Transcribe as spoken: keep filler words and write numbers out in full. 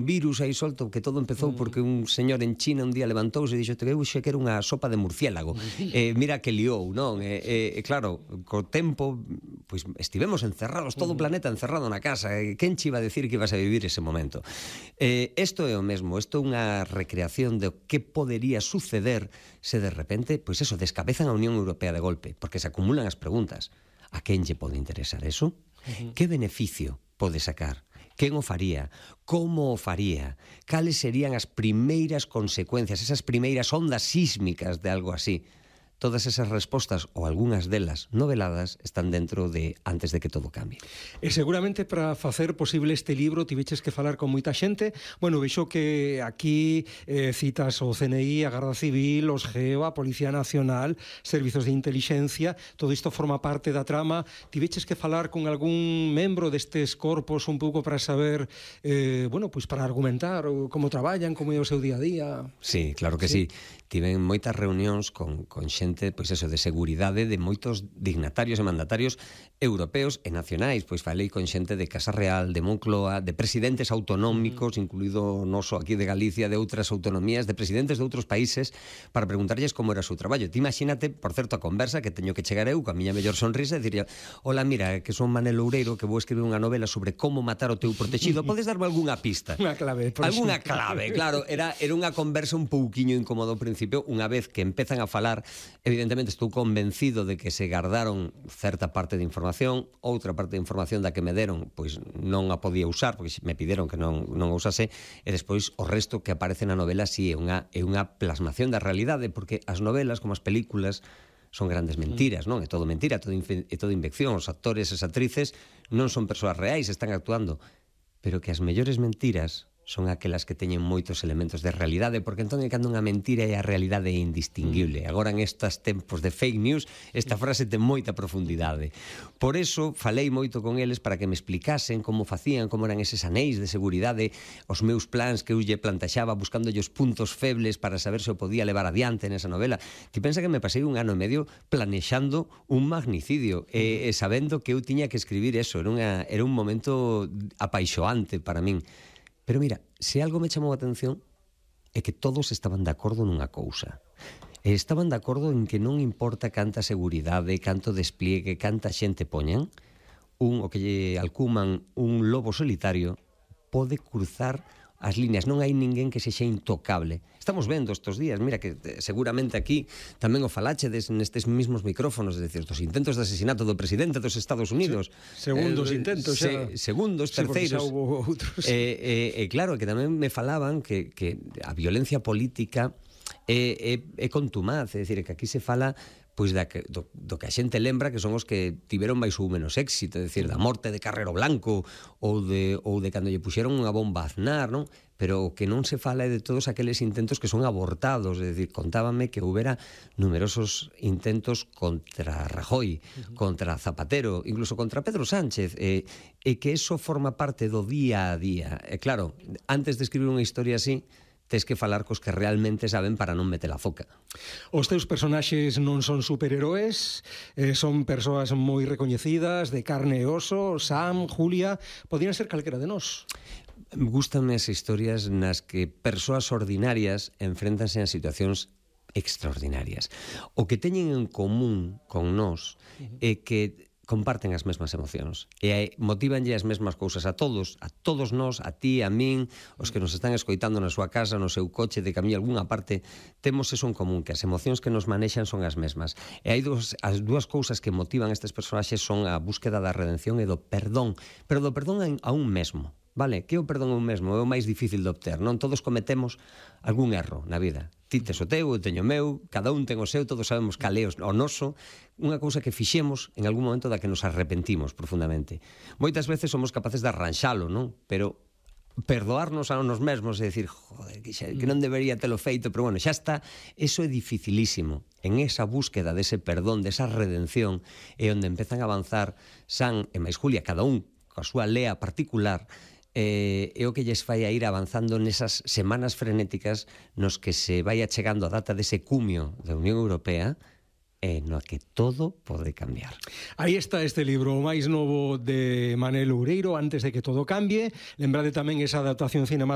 virus aí solto, que todo empezou porque un señor en China un día levantouse e dixo que eu xe que era unha sopa de murciélago. Eh, mira que liou, non? E eh, eh, claro, co tempo, pois estivemos encerrados, todo o planeta encerrado na casa. Eh, quen che iba a decir que ibas a vivir ese momento? Eh, isto é o mesmo, isto é unha recreación de que podería suceder se de repente, pois eso, descabezan a Unión Europea de golpe, porque se acumulan as preguntas. A quen lle pode interesar eso? Uh-huh. Que beneficio pode sacar? Quen o faría? Como o faría? Cales serían as primeiras consecuencias, esas primeiras ondas sísmicas de algo así? Todas esas respostas, ou algunhas delas noveladas, están dentro de Antes de que todo cambie. E seguramente para facer posible este libro tiveches que falar con moita xente. Bueno, vexo que aquí eh, citas o C N I, a Garda Civil, os G E O, a Policía Nacional, servizos de inteligencia, todo isto forma parte da trama. Tiveches que falar con algún membro destes corpos un pouco para saber, eh, bueno, pois para argumentar como traballan, como é o seu día a día. Sí, claro que sí. sí. Tiven moitas reunións con, con xente, pois eso, de seguridade de moitos dignatarios e mandatarios europeos e nacionais. Pois falei con xente de Casa Real, de Moncloa, de presidentes autonómicos, mm. incluído o noso aquí de Galicia, de outras autonomías, de presidentes de outros países, para preguntarlles como era o seu traballo. Ti imagínate, por certo, a conversa que teño que chegar eu, coa miña mellor sonrisa, e diría: hola, mira, que son Manel Loureiro, que vou escribir unha novela sobre como matar o teu protegido. Podes darme algunha pista? Unha clave. Algunha clave, claro. Era, era unha conversa un pouquiño incómodo ao principio. Unha vez que empezan a falar, evidentemente estou convencido de que se gardaron certa parte de información, outra parte de información da que me deron, pois non a podía usar, porque me pideron que non, non a usase, e despois o resto que aparece na novela si é unha, é unha plasmación da realidade, porque as novelas, como as películas, son grandes mentiras, non? É todo mentira, todo é todo invención. Os actores e as actrices non son persoas reais, están actuando, pero que as mellores mentiras son aquelas que teñen moitos elementos de realidade, porque entón é cando unha mentira e a realidade é indistinguible. Agora, en estes tempos de fake news, esta frase ten moita profundidade. Por eso, falei moito con eles para que me explicasen como facían, como eran eses anéis de seguridade, os meus plans que eu lle plantaxaba, buscándolle os puntos febles para saber se o podía levar adiante nesa novela. Ti pensa que me pasei un ano e medio planexando un magnicidio, e, e sabendo que eu tiña que escribir eso. Era, unha, era un momento apaixoante para min. Pero mira, se algo me chamou a atención é que todos estaban de acordo nunha cousa. E estaban de acordo en que non importa canta seguridade, canto despliegue, canta xente poñan, un, o que lle alcuman un lobo solitario, pode cruzar as líneas. Non hai ninguén que sexa intocable. Estamos vendo estes días, mira que seguramente aquí tamén o falachedes nestes mismos micrófonos, é dicir, dos intentos de asesinato do presidente dos Estados Unidos. Se, segundos eh, intentos, xa. Se, segundos, sí, terceiros. E eh, eh, eh, claro, que tamén me falaban que, que a violencia política é, é, é contumaz, é dicir, que aquí se fala pois da que, do, do que a xente lembra que son os que tiveron máis ou menos éxito, é dicir, da morte de Carrero Blanco ou de, ou de cando lle puxeron unha bomba a Aznar, non? Pero o que non se fala é de todos aqueles intentos que son abortados, é dicir, contábame que houbera numerosos intentos contra Rajoy, uh-huh. contra Zapatero, incluso contra Pedro Sánchez, e, e que eso forma parte do día a día. E claro, antes de escribir unha historia así, tes que falar cos que realmente saben para non meter a foca. Os teus personaxes non son superheróes, eh, son persoas moi recoñecidas, de carne e oso. Sam, Julia, podían ser calquera de nós. Gústanme as historias nas que persoas ordinarias enfréntanse a situacións extraordinarias. O que teñen en común con nós é que comparten as mesmas emocións e motívanlle as mesmas cousas a todos, a todos nós, a ti, a min, os que nos están escoitando na súa casa, no seu coche, de camiño a algunha parte. Temos eso en común, que as emocións que nos manexan son as mesmas. E hai dos, as dúas cousas que motivan estes personaxes son a búsqueda da redención e do perdón, pero do perdón a un mesmo. Vale, que o perdón a un mesmo é o máis difícil de obter, non? Todos cometemos algún erro na vida. Ti tes o teu, eu teño o meu, cada un ten o seu, todos sabemos cal é o noso, unha cousa que fixemos en algún momento da que nos arrepentimos profundamente. Moitas veces somos capaces de arranxalo, non? Pero perdoarnos a nos mesmos e dicir, joder, que, xa, que non debería telo feito, pero bueno, xa está, eso é dificilísimo. En esa búsqueda dese perdón, desa redención, é onde empezan a avanzar Sam e máis Julia, cada un coa súa lea particular, eh, é o que lles fai a ir avanzando nesas semanas frenéticas nos que se vai achegando a data dese cumio da Unión Europea e no que todo pode cambiar. Aí está este libro, o máis novo de Manel Loureiro, Antes de que todo cambie. Lembrade tamén esa adaptación cinematográfica